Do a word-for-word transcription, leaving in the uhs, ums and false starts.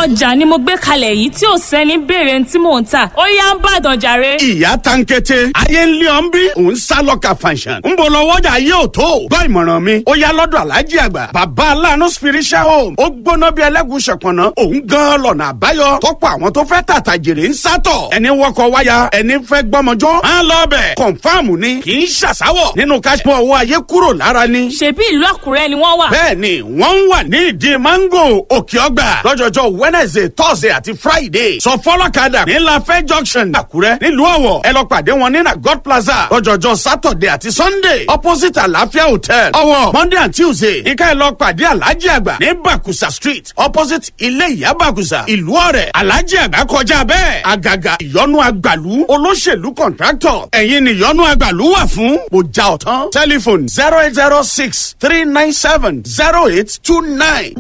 Ọjà ni mo gbé kalẹ̀ yìí tí ò sẹ́ni béèrè tí mò ń tà, ó yá ń bàdàn jàre. Ìyá tankete, ayé ń lé ọ ń bí, òun sá lọ́ka fanṣan. Ń bọ̀ lọ́wọ́jà yóò tó. Gbọ́ ìmọ̀ràn mi, ó yá lọ́dọ̀ Aláàjì Àgbà. Bàbá Aláàánú Spiritual Home, ó gbóná bí ẹlẹ́gùn ṣọ̀pọ̀nà, òun gan lọ́nà àbáyọ. Tọ́pọ̀ àwọn tó fẹ́ tàtà jèrè ń sátọ̀. Ẹni wọkọ̀ wáyà, ẹni fẹ́ gbọ́mọjọ́. Á lọ bẹ̀. Confirm ni, kì í ṣàṣàwọ̀. Nínú káṣípọ̀ owó ayé kúrò lára ni. Ṣèbí ìlú Àkúrẹ́ ni wọ́n wà? Bẹ́ẹ̀ni, wọ́n ń wà ní ìdí mango Òkè Ọgbà lọ́jọ́jọ́ Wednesday, Thursday àti Friday. Sọ fọlọ́kadà ní Lafẹ́ Junction, Àkúrẹ́, nílùú Ọ̀wọ̀. Ẹ lọ pàdé wọn ní na God Plaza lọ́jọ́jọ́ Saturday àti Sunday, opposite Àlàáfíà Hotel, Ọ̀wọ̀. Monday and Tuesday, ìka ẹ lọ pàdé Alhaji Àgbà ní Bakusa Street, opposite ilé ìyá Bakusa, ìlú Ọ̀rẹ́. Alhaji Àgbà kọjá bẹ́ẹ̀. Àgàgà ìyọnu àgbàlú olóṣèlú, contractor, ẹ̀yin ni ìyọnu àgbàlú wà fún. Mo já ọ̀tán. Telephone zero eight zero six three nine seven zero eight two nine.